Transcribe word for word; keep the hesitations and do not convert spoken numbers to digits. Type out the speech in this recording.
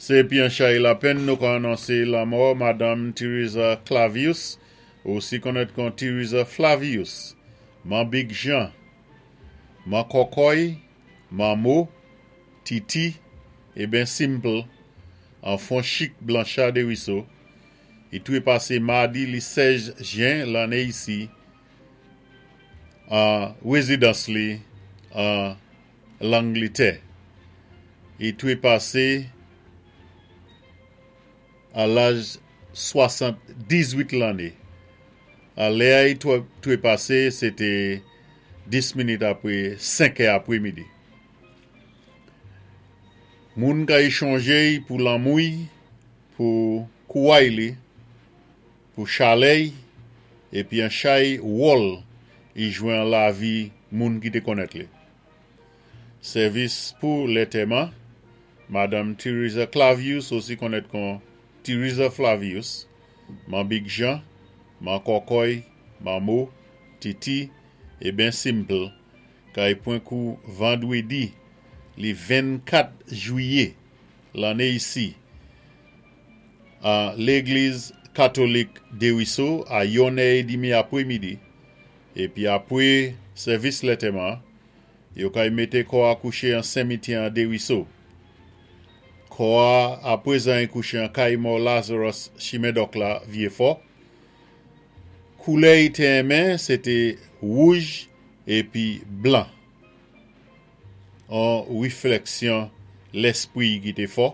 Sé épi an chay lapenn nou ka anonsé lanmò Madanm Teresa Clavius, osi konnèt kon Teresa Flavius, Man Big Jean, Man Kokoy, Manmo, Titi, é ben Simple, an Fonchik Blanchard Desruisseaux, i twé pasé madi li sèz jen lanné isi an wézidans li an Langlétè. I twé pasé a laj swasann-diz-wit lanné. A lè i twé pasé, sé té dis minit apwé senk è apwé midi. Moun kay chonjé pou lanmou-y, pou kouway li, pou chalè-y, épi an chay wòl i jwé an lavi moun ki té konnèt li. Sèvis pou lantèman, Madanm Teresa Clavius, osi konnèt kon Teresa Flavius, Man Big Jean, Man Kokoy, Manmo, Titi, é ben Simple, kay pwan kou vandwédi li vennkat jwiyé lanné isi an légliz katolik Desruisseaux a yon è édmi apwé midi, épi apwé sèvis lantèman, yo kay mété kò a kouché an simityè an Desruisseaux. Kò a apwézan i kouché an kay mò Lazarus chimen Dòk la Vyéfò. Koulè i té enmen, sé té wouj épi blan. An wiflèksyon léspwi ki té fò.